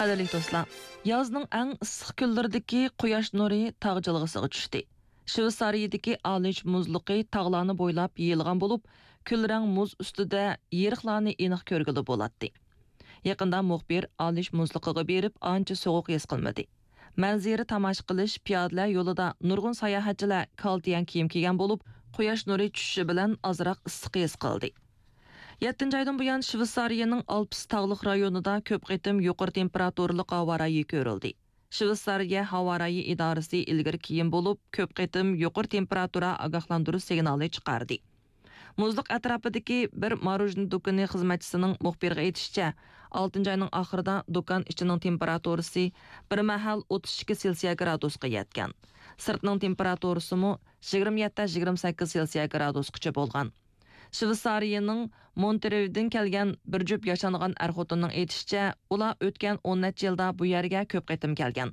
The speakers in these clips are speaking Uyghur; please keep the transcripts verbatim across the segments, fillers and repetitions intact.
قەدىرلىك دوستلار، يازنىڭ ئەڭ ئىسسىق كۈنلىرىدىكى قۇياش نۇرى تاغ جىلغىسىغا چۈشتى. شۋېتسارىيىدىكى ئالىش مۇزلۇقى تاغلارنى بويلاپ يېيىلغان بولۇپ، كۈلرەڭ مۇز ئۈستىدە يېرىقلارنى ئېنىق كۆرگىلى بولاتتى. يېقىندا مۇخبىر ئالىش مۇزلۇقىغا بېرىپ، ئانچە سوغۇق ھېس قىلمىدى. مەنزىرە تاماشا قىلىش پىيادىلەر يولىدا نۇرغۇن ساياھەتچىلەر كالتىيەن كىيىم كىيگەن بولۇپ، قۇياش نۇرى چۈشۈشى بىلەن ئازراق ئىسسىق ھېس قىلدى. يەتتىنچى ئايدىن بۇيان، شۋېتسارىيەنىڭ ئالپىس تاغلىق رايونىدا كۆپ قېتىم يۇقىرى تېمپېراتۇرىلىق ھاۋا رايى كۆرۈلدى. شۋېتسارىيە ھاۋا رايى ئىدارىسى ئىلگىرى كېيىن بولۇپ، كۆپ قېتىم يۇقىرى تېمپېراتۇرا ئاگاھلاندۇرۇش سىگنالى چىقاردى. مۇزلۇق ئەتراپىدىكى بىر ماروژنا دۇكىنى خىزمەتچىسىنىڭ مۇخبىرغا ئېيتىشىچە، ئالتىنچى ئاينىڭ ئاخىرىدا دۇكان ئىچىنىڭ تېمپېراتۇرىسى بىر مەھەل ئوتتۇز ئىككى سېلسىيە گرادۇسقا يەتكەن. سىرتنىڭ تېمپېراتۇرىسىمۇ يىگىرمە يەتتە، يىگىرمە سەككىز سېلسىيە گرادۇسقىچە بولغان. شۋېتسارىيەنىڭ مونترېۋدىن كەلگەن بىر جۈپ ياشانغان ئەر-خوتۇننىڭ ئېيتىشىچە، ئۇلار ئۆتكەن ئون نەچچە يىلدا بۇ يەرگە كۆپ قېتىم كەلگەن.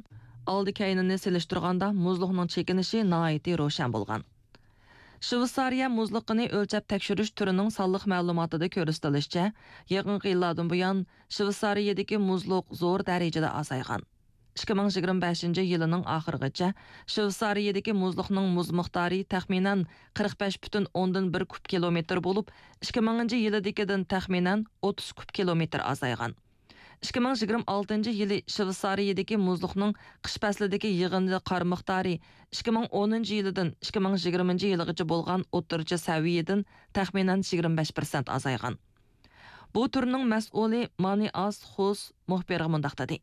ئالدى-كەينىنى سېلىشتۇرغاندا، مۇزلۇقنىڭ چېكىنىشى ناھايىتى روشەن بولغان. شۋېتسارىيە مۇزلۇقىنى ئۆلچەپ تەكشۈرۈش تۈرىنىڭ سانلىق مەلۇماتىدا كۆرسىتىلىشىچە، يېقىنقى يىللاردىن بۇيان، شۋېتسارىيەدىكى مۇزلۇق زور دەرىجىدە ئازايغان. ئىككى مىڭ يىگىرمە بەشىنچى يىلىنىڭ ئاخىرىغىچە شۋېتسارىيەدىكى مۇزلۇقنىڭ مۇز مىقدارى تەخمىنەن قىرىق بەش پۈتۈن ئوندىن بىر كۇب كىلومېتىر بولۇپ، ئىككى مىڭىنچى يىلىدىكىدىن تەخمىنەن ئوتتۇز كۇب كىلومېتىر ئازايغان. ئىككى مىڭ يىگىرمە ئالتىنچى يىلى شۋېتسارىيەدىكى مۇزلۇقنىڭ قىش پەسلىدىكى يىغىندى قار مىقدارى ئىككى مىڭ ئونىنچى يىلىدىن ئىككى مىڭ يىگىرمىنچى يىلىغىچە بولغان ئوتتۇرىچە سەۋىيەدىن تەخمىنەن يىگىرمە بەش پىرسەنت ئازايغان. بۇ تۈرنىڭ مەسئۇلى مانى ئاس خۇس مۇخبىرغا مۇنداق دېدى: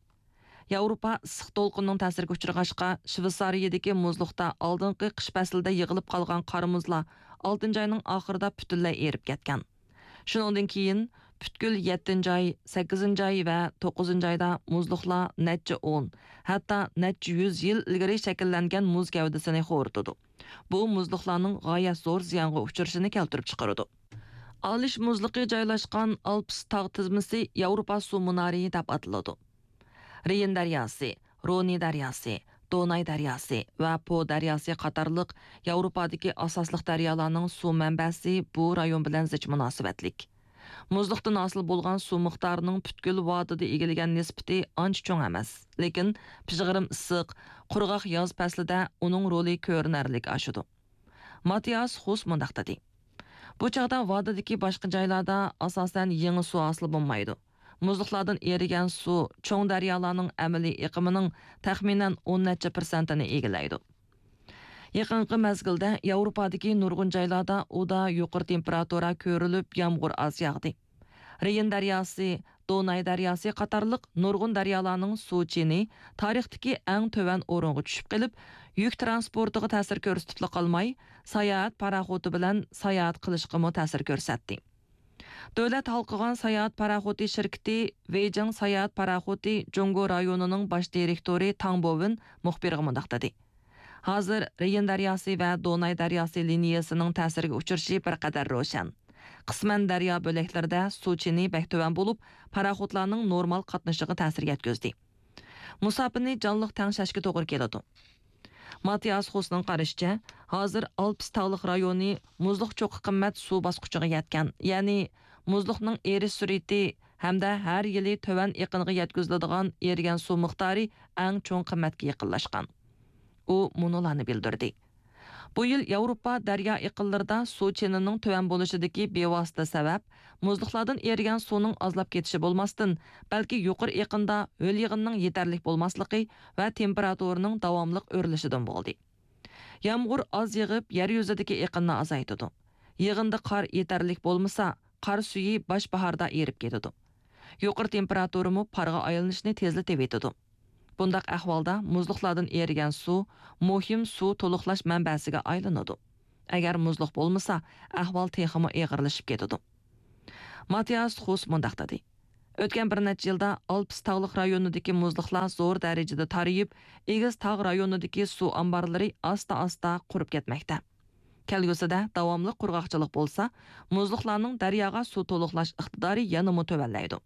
ياۋروپا ئىسسىق دولقۇننىڭ تەسىرىگە ئۇچرىغاچقا، شۋېتسارىيەدىكى مۇزلۇقتا ئالدىنقى قىش پەسلىدە يىغىلىپ قالغان قار مۇزلار ئالتىنچى ئاينىڭ ئاخىرىدا پۈتۈنلەي ئېرىپ كەتكەن. شۇنىڭدىن كېيىن پۈتكۈل يەتتىنچى ئاي، سەككىزىنچى ئاي ۋە توققۇزىنچى ئايدا مۇزلۇقلار نەچچە ئون، ھەتتا نەچچە يۈز يىل ئىلگىرى شەكىللەنگەن مۇز گەۋدىسىنى خورىتىدۇ. بۇ مۇزلۇقلارنىڭ غايەت زور زىيانغا ئۇچرىشىنى كەلتۈرۈپ چىقىرىدۇ. ئالىش مۇزلۇقى جايلاشقان ئالپىس تاغ تىزمىسى ياۋروپا سۇ مۇنارى دەپ ئاتىلىدۇ. رېين دەرياسى، رونى دەرياسى، دوناي دەرياسى ۋە پو دەرياسى قاتارلىق ياۋروپادىكى ئاساسلىق دەريالارنىڭ سۇ مەنبەسى بۇ رايون بىلەن زىچ مۇناسىۋەتلىك. مۇزلۇقتىن ھاسىل بولغان سۇ مىقدارىنىڭ پۈتكۈل ۋادىدا ئىگىلىگەن نىسبىتى ئانچە چوڭ ئەمەس، لېكىن پىژغىرىم ئىسسىق، قۇرغاق ياز پەسلىدە ئۇنىڭ رولى كۆرۈنەرلىك ئاشىدۇ. ماتىياس خۇس مۇنداق دېدى: بۇ چاغدا ۋادىدىكى باشقا جايلاردا ئاساسەن يېڭى سۇ ھاسىل بولمايدۇ. مۇزلۇقلاردىن ئېرىگەن سۇ چوڭ دەريالارنىڭ ئەمەلىي ئېقىمىنىڭ تەخمىنەن ئون نەچچە پىرسەنتىنى ئىگىلەيدۇ. يېقىنقى مەزگىلدە ياۋروپادىكى نۇرغۇن جايلاردا ئۇدا يۇقىرى تېمپېراتۇرا كۆرۈلۈپ، يامغۇر ئاز ياغدى. رېين دەرياسى، دوناي دەرياسى قاتارلىق نۇرغۇن دەريالارنىڭ سۇ چېنى تارىختىكى ئەڭ تۆۋەن ئورۇنغا چۈشۈپ قېلىپ، يۈك تىرانسپورتىغا تەسىر كۆرسىتىپلا قالماي، ساياھەت پاراخوتى بىلەن ساياھەت قىلىشقىمۇ تەسىر كۆرسەتتى. دۆلەت ھالقىغان ساياھەت پاراخوتى شىركىتى ۋېيجىڭ ساياھەت پاراخوتى جۇڭگو رايونىنىڭ باش دىرېكتورى تاڭ بوۋېن مۇخبىرغا مۇنداق دېدى: ھازىر رېين دەرياسى ۋە دوناي دەرياسى لىنىيەسىنىڭ تەسىرگە ئۇچرىشى بىر قەدەر روشەن. قىسمەن دەريا بۆلەكلىرىدە سۇ چېنى بەك تۆۋەن بولۇپ، پاراخوتلارنىڭ نورمال قاتنىشىغا تەسىر يەتكۈزدى. مۇساپىنى جانلىق تەڭشەشكە توغرا كېلىدۇ. ماتىياس خۇسنىڭ قارىشىچە، ھازىر ئالپىس تاغلىق رايونى مۇزلۇق چوققا قىممەت سۇ باسقۇچىغا يەتكەن، يەنى مۇزلۇقنىڭ ئېرىش سۈرئىتى ھەمدە ھەر يىلى تۆۋەن ئېقىنغا يەتكۈزۈلىدىغان ئېرىگەن سۇ مىقدارى ئەڭ چوڭ قىممەتكە يېقىنلاشقان. ئۇ مۇنۇلارنى بىلدۈردى: بۇ يىل ياۋروپا دەريا ئېقىنلىرىدا سۇ چېنىنىڭ تۆۋەن بولۇشىدىكى بىۋاسىتە سەۋەب، مۇزلۇقلاردىن ئېرىگەن سۇنىڭ ئازلاپ كېتىشى بولماستىن، بەلكى يۇقىرى ئېقىندا ھۆل يېغىننىڭ يېتەرلىك بولماسلىقى ۋە تېمپېراتۇرىنىڭ داۋاملىق ئۆرلىشىدىن بولدى. يامغۇر ئاز يېغىپ، يەر يۈزىدىكى ئېقىننى ئازايتىدۇ. يىغىندا قار يېتەرلىك بولمىسا، قار سۈيى باش باھاردا ئېرىپ كېتىدۇ. يۇقىرى تېمپېراتۇرىمۇ پارغا ئايلىنىشنى تېزلىتىۋېتىدۇ. بۇنداق ئەھۋالدا مۇزلۇقلاردىن ئېرىگەن سۇ مۇھىم سۇ تولۇقلاش مەنبەسىگە ئايلىنىدۇ. ئەگەر مۇزلۇق بولمىسا، ئەھۋال تېخىمۇ ئېغىرلىشىپ كېتىدۇ. ماتىياس خۇس مۇنداق دېدى: ئۆتكەن بىر نەچچە يىلدا ئالپىس تاغلىق رايونىدىكى مۇزلۇقلار زور دەرىجىدە تارىيىپ، ئېگىز تاغ رايونىدىكى سۇ ئامبارلىرى ئاستا-ئاستا قۇرۇپ كەتمەكتە. كەلگۈسىدە داۋاملىق قۇرغاقچىلىق بولسا، مۇزلۇقلارنىڭ دەرياغا سۇ تولۇقلاش ئىقتىدارى يەنىمۇ تۆۋەنلەيدۇ.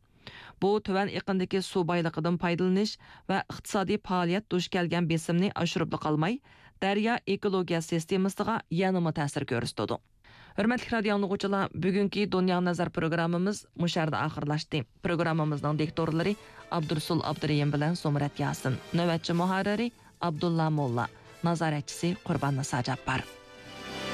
بۇ تۆۋەن ئېقىندىكى سۇ بايلىقىدىن پايدىلىنىش ۋە ئىقتىسادىي پائالىيەت دۇچ كەلگەن بېسىمنى ئاشۇرۇپلا قالماي، دەريا ئېكولوگىيە سىستېمىسىغا يەنىمۇ تەسىر كۆرسىتىدۇ. ھۆرمەتلىك رادىيو ئاڭلىغۇچىلار، بۈگۈنكى دۇنياغا نەزەر پروگراممىمىز مۇشۇ يەردە ئاخىرلاشتى. پروگراممىمىزنىڭ دىكتورلىرى ئابدۇرسۇل ئابدۇرېھىم بىلەن زۇمرەت ياسىن، نۆۋەتچى مۇھەررىرى ئابدۇللا موللا، نازارەتچىسى قۇربان نىسا جاپپار.